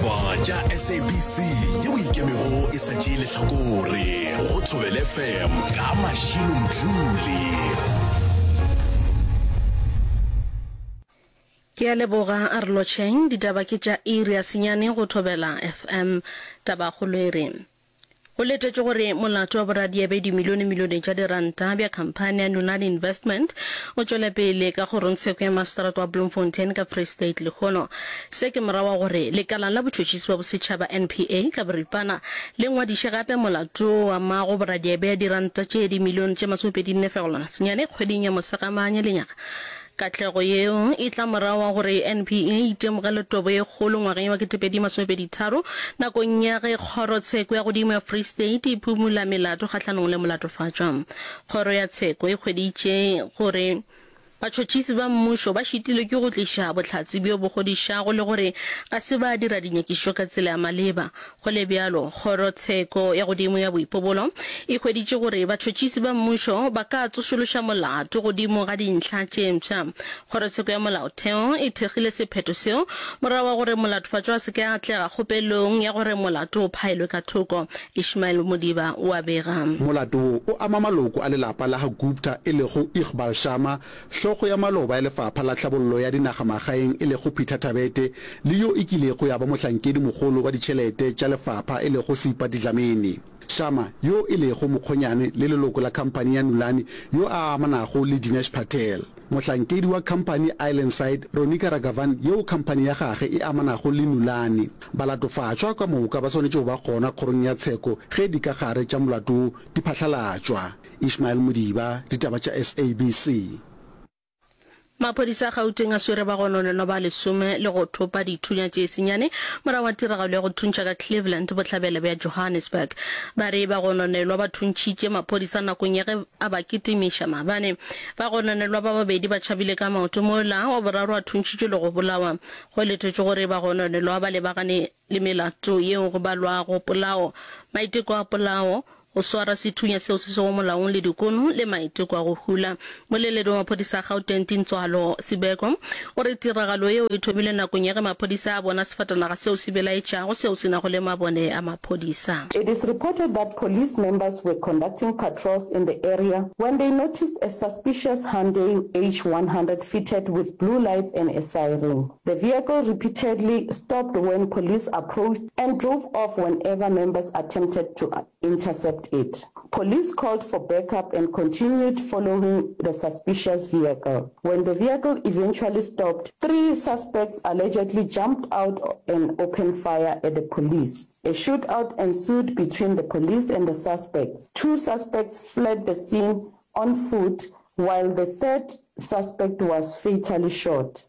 Ditaba tša SABC yeo e ikemego e sa tšee lehlakore go Thobela FM ka Mashilo Mdluli. Ke a leboga, a re lotšheng. Ditaba ke tša iri ya senyane go Thobela FM. Tabakgolo e re, Go letetšwe gore molato wa boradia bja dimilionemilione tša diranta bja khamphani ya Nulane Investment o tšwele pele ka kgorongtsheko ya maseterata wa Bloemfontein ka Free State lehono. Se ke morago ga gore lekala la botšhotšhisi bja bosetšhaba, NPA, ka boripana le ngwadiše gape molato wo o amago boradia bja diranta tše dimilione tše masomepedinne fegelwana senyane kgweding ya Mosegamanye lenyaga. Katlego yeo e tla morago ga gore NPA e itemogele tobo ye kgolo ngwageng wa 2023 nakong ya ge Kgorotsheko ya Godimo ya Free State e phumula melato kgahlanong le molatofatšwa. Kgoro ya tsheko e hweditše gore batšhotšhisi ba mmušo ba šitilwe ke go tliša bohlatse bjo bo kgodišago le gore ga se ba dira dinyakišišo ka tsela ya maleba. Go le bjalo, Kgorotsheko ya Godimo ya Boipobolo e hweditše gore batšhotšhisi ba mmušo ba ka tsošološa molato godimo ga dintlha tše mpsha. Kgorotsheko ya Molaotheo e thekgile sephetho seo morago ga gore molatofatšwa a se ke a atlega kgopelong ya gore molato o phaelwe ka thoko. Ishmael Modiba o a bega. Molato wo o ama maloko a lelapa la ga Gupta e lego Iqbal Sharma, Hlogo ya maloba ya Lefapha la Tlhabollo ya Dinagamagaeng e lego Peter Thabete le yo e kilego ya ba mohlankedi mogolo wa ditšhelete tša lefapha e lego Seipati Dlamini. Sharma, yo e lego mokgonyane le leloko la khamphani ya Nulane yo a amanago le Dinesh Patel. Mohlankedi wa khamphani Islandside, Ronika Raghavan yeo khamphani ya gage e amanago le Nulane. Balatofatšwa ka moka ba swanetše go ba gona kgorong ya tsheko ge dikagare tša molato wo di phahlalatšwa. Ishmael Modiba, Ditaba tša SABC. Maphodisa a Gauteng a swere bagononelwa ba lesome le go thopa dithunya tše senyane morago ga tiragalo ya go thuntšha ka Cleveland, bohlabela bja Johannesburg. Ba re bagononelwa ba thuntšhitše maphodisa nakong ya ge a ba kitimiša maabane. Bagononelwa ba babedi ba tšhabile ka maoto mola wa boraro a thuntšhitšwe le go bolawa. Go letetšwe gore bagononelwa ba lebagane le melato yeo go balwago polao, maiteko a polao, go swara sethunya seo se sego molaong le dikono le maiteko a go hula. Moleledi wa maphodisa a Gauteng Tintswalo Sibeko o re tiragalo yeo e thomile nakong ya ge maphodisa a bona sefatanaga seo se belaetšago seo se nago le mabone a maphodisa. It is reported that police members were conducting patrols in the area when they noticed a suspicious Hyundai H100 fitted with blue lights and a siren. The vehicle repeatedly stopped when police approached and drove off whenever members attempted to intercept it. Police called for backup and continued following the suspicious vehicle. When the vehicle eventually stopped, three suspects allegedly jumped out and opened fire at the police. A shootout ensued between the police and the suspects. Two suspects fled the scene on foot while the third suspect was fatally shot.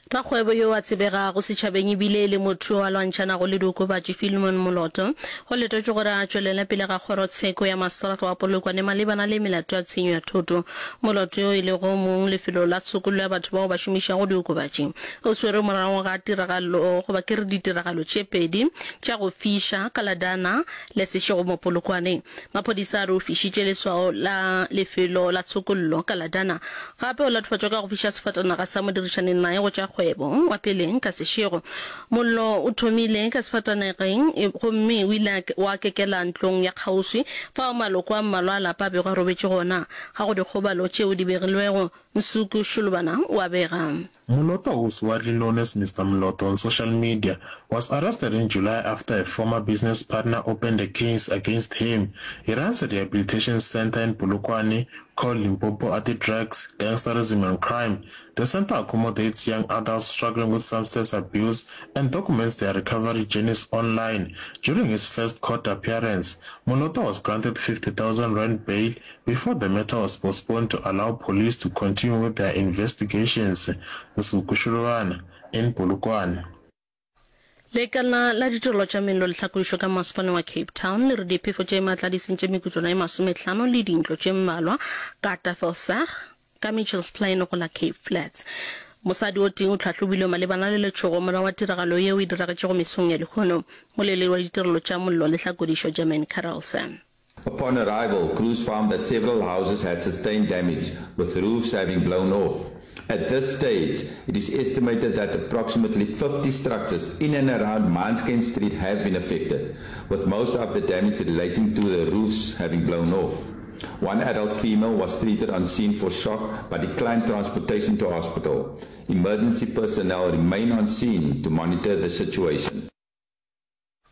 Rakgwebo yo a tsebegago setšhabeng e bile e le motho yo a lwantšhanago le diokobatši Philemon Moloto go letetšwe gore a tšwelele pele ga kgorotsheko ya maseterata wa Polokwane malebana le melato ya tshenyo ya thoto. Moloto yo e lego mong lefelo la tshokollo ya batho bao ba šomišago diokobatši o swerwe morago ga tiragalo goba ke re ditiragalo tše pedi tša go fiša ka Ladana le Seshego mo Polokwane. Maphodisa a re o fišitše leswao la lefelo la tshokollo ka Ladana. Gape o latofatšwa ka go fiša sefatanaga sa modirišani naye go tša kgwebo wa peleng ka sešego. Mollo o thomile ka sefatanageng gomme o ile wa kekela ntlong ya kgauswi fao maloko a mmalwa a lapa a bego a robetše gona. Ga go dikgobalo tšeo di begilwego, Nsuku Shulubana o a bega. Moloto, who's widely known as Mr. Moloto on social media, was arrested in July after a former business partner opened a case against him. He runs a rehabilitation center in Polokwane called Limpopo Anti-Drugs, Gangsterism and Crime. The center accommodates young adults struggling with substance abuse and documents their recovery journeys online. During his first court appearance, Moloto was granted 50,000 rand bail before the matter was postponed to allow police to continue with their investigations. Nsuku Shulubana in Polokwane. Lekala la ditirelo tša mello le tlhakodišo ka masepaleng wa Cape Town le re diphefo tše maatla di sentše mekutlwana ye masomehlano le dintlo tše mmalwa ka Tafelsig ka Mitchells Plain go la Cape Flats. Mosadi o tee o tlhahlobilwe malebana le letšhogo morago ga tiragalo yeo e diragetšego mesong ya lehono. Moleledi wa ditirelo tša mollo le tlhakodišo Jermaine Carelse. Upon arrival, crews found that several houses had sustained damage, with roofs having blown off. At this stage, it is estimated that approximately 50 structures in and around Mansken Street have been affected, with most of the damage relating to the roofs having blown off. One adult female was treated on scene for shock but declined transportation to hospital. Emergency personnel remain on scene to monitor the situation.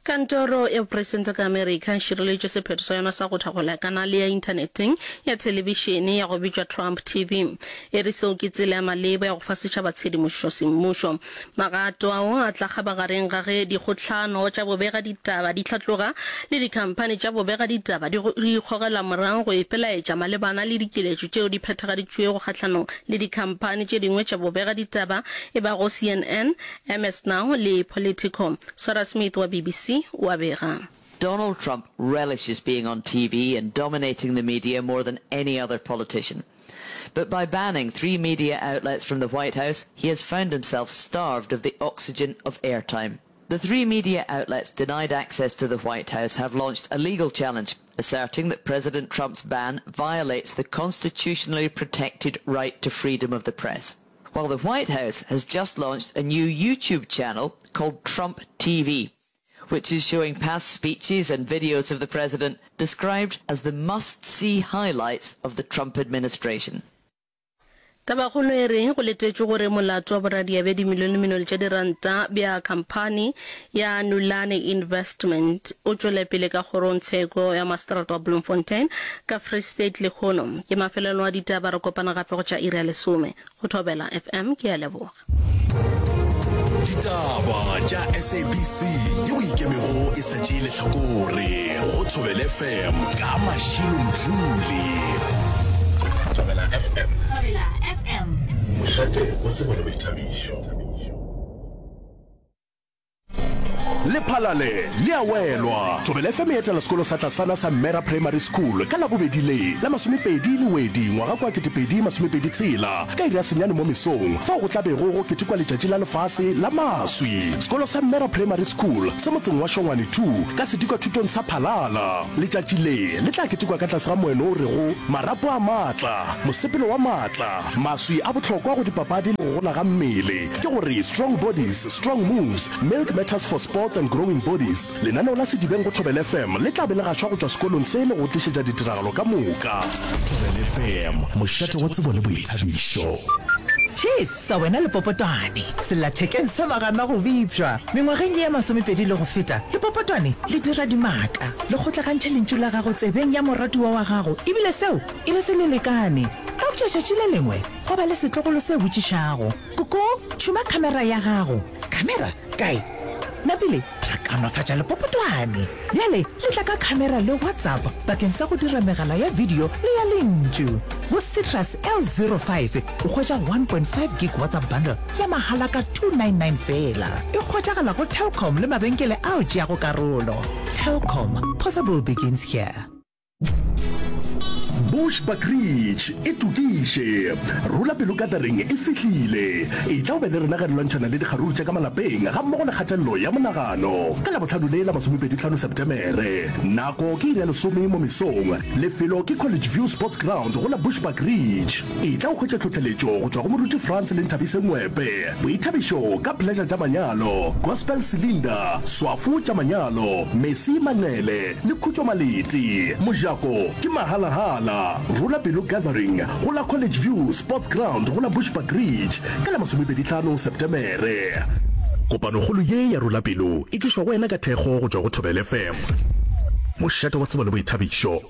Kantoro ya bopresidente ka Amerika e šireleditše sephetho sa yona sa go thakgola kanale ya inthaneteng ya thelebišene ya go bitšwa Trump TV. E re seo ke tsela ya maleba ya go fa setšhaba tshedimošo semmušo. Magato ao a tla kgabagareng ga ge dikgohlano tša bobegaditaba di hlatloga le dikhamphani tša bobegaditaba di ikgogela morago go ipelaetša malebana le dikiletšo tšeo di phethagaditšwego kgahlanong le dikhamphani tše dingwe tša bobegaditaba e bago CNN, MS Now le Politico. Sarah Smith wa BBC o a bega. Donald Trump relishes being on TV and dominating the media more than any other politician. But by banning three media outlets from the White House, he has found himself starved of the oxygen of airtime. The three media outlets denied access to the White House have launched a legal challenge, asserting that President Trump's ban violates the constitutionally protected right to freedom of the press. While the White House has just launched a new YouTube channel called Trump TV, which is showing past speeches and videos of the president described as the must-see highlights of the Trump administration. Tabakgolo e re go letetšwe gore molato wa boradia bja dimilionemilione tša diranta bja khamphani ya Nulane Investment o tšwele pele ka kgorongtsheko ya maseterata wa Bloemfontein ka Free State lehono. Ke mafelelo a ditaba, re kopana gape go tša iri ya lesome. Go Thobela FM, ke a leboga. Ditaba tša SABC yeo e ikemego e sa tšee lehlakore go Thobela FM ka Mashilo Mdluli. Thobela FM. Thobela FM. Mošate wa tsebo le boithabišo. Lephalale le a welwa! Thobela FM e etela sekolo sa tlasana sa Mera Primary School ka Labobedi le la masomepedi Lewedi ngwaga kwa 2026 ka iri ya senyane mo mesong fao go tla bego go ketekwa letšatši la lefase la maswi. Sekolo sa Mera Primary School se motseng wa Shongwane 2 ka sedikwathutong sa Phalala. Letšatši le le tla ketekwa ka tlase ga moeno o rego Marapo a maatla, mosepelo wa maatla, maswi a bohlokwa go dipapadi le go gola ga mmele, ke gore Strong Bodies, Strong Moves, Milk Matters for Sports and Growing Bodies. Lenaneo la Sedibeng go Thobela FM le tla be le gašwa go tšwa sekolong se le go tlišetša ditiragalo ka moka. Thobela FM, mošate wa tsebo le boithabišo. Tšhesa wena lepopotwane, sellathekeng sa magana go bipšwa. Mengwageng ye ya masomepedi le go feta, lepopotwane le dira dimaka, le kgotlagantšha lentšu la gago tsebeng ya moratiwa wa gago ebile seo e be se le lekane. Eupša tšatši le lengwe gwa ba le setlogolo se botšišago, Koko, tšhuma khamera ya gago. Khamera? Kae? Napile ra kaonafatša lepopotwane. Bjale le tla ka khamera le WhatsApp bakeng sa go dira megala ya video le ya lentšu. Go Citrus L05 o hwetša 1.5 gig WhatsApp bundle ya mahala ka 299 feela. E hwetšagala go Telkom le mabenkele ao tšeago karolo. Telkom, possible begins here. Bushbuckridge e tokiše. Rola pelo gathering e fihlile. Etla o be le rena ge re lwantšhana le dikgaruru tša ka malapeng gammogo le kgatelelo ya monagano. Ka Labohlano le la masomepedihlano Setemere. Nako ke iri ya lesome mo mesong. Lefelo ke College View Sports Ground go la Bushbuckridge. Etla o hwetše tlhohleletšo go tšwa go Moruti Frans le Nthabise Ngwepe. Boithabišo ka Pleasure tša manyalo, Gospel Cylinder, Swafo tša manyalo, Mercy Manqele, le Khutšo Maleti. Mojako ke mahalahala. Rola Pelo Gathering go la College View Sports Ground go la Bushbuckridge ka la masomepedihlano Setemere. Kopanokgolo ye ya Rola Pelo e tlišwa go wena ka thekgo go tšwa go Thobela FM, mošate wa tsebo le boithabišo.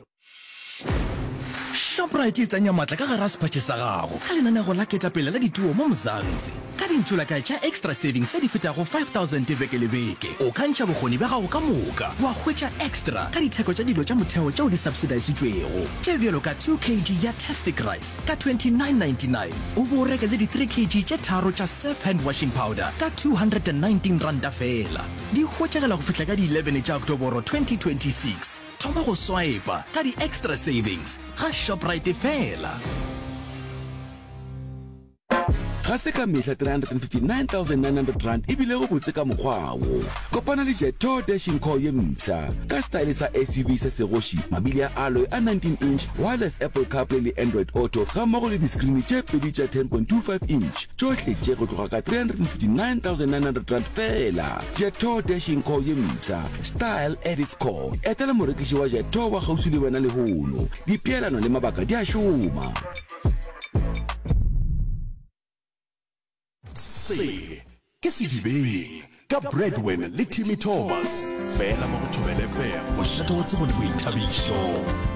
Shoprite e tsenya matla ka gare ga sephatše sa gago ka lenanego la ketapele la dituo mo Mzansi. Ka dintšolakae tša Extra Savings tše di fetago 5000 beke le beke, o ka ntšha bokgoni bja gago ka moka wa hwetša extra ka ditheko tša dilo tša motheo tšeo di subsidisitšwego, tše bjalo ka 2 kg ya Tastic Rice ka 29.99 o bo o reke le di 3 kg tše tharo tša Surf Hand Washing Powder ka R219 feela. Di hwetšagala go fihla ka di 11 tša Oktoboro 2026. Thoma go swipa ka di extra savings ga Shoprite fela. Ga se ka mehla R359 900 e bilego botse ka mokgwa wo. Kopana le Jetour Dashing Core ye mpsha, ka setaele sa SUV sa segoši, mabili a alloy a 19 inch, wireless Apple CarPlay le Android Auto gammogo le diskrini tše pedi tša 10.25 inch, tšohle tše go tloga ka R359 900 feela. Jetour Dashing Core ye mpsha, style at its core. Etela morekiši wa Jetour wa kgauswi le wena lehono. Dipeelano le mabaka di a šoma. Se ke Sedibeng ka Bradwin le Timmy Thomas, fela mo go Thobela FM, mošate wa tsebo le boithabišo.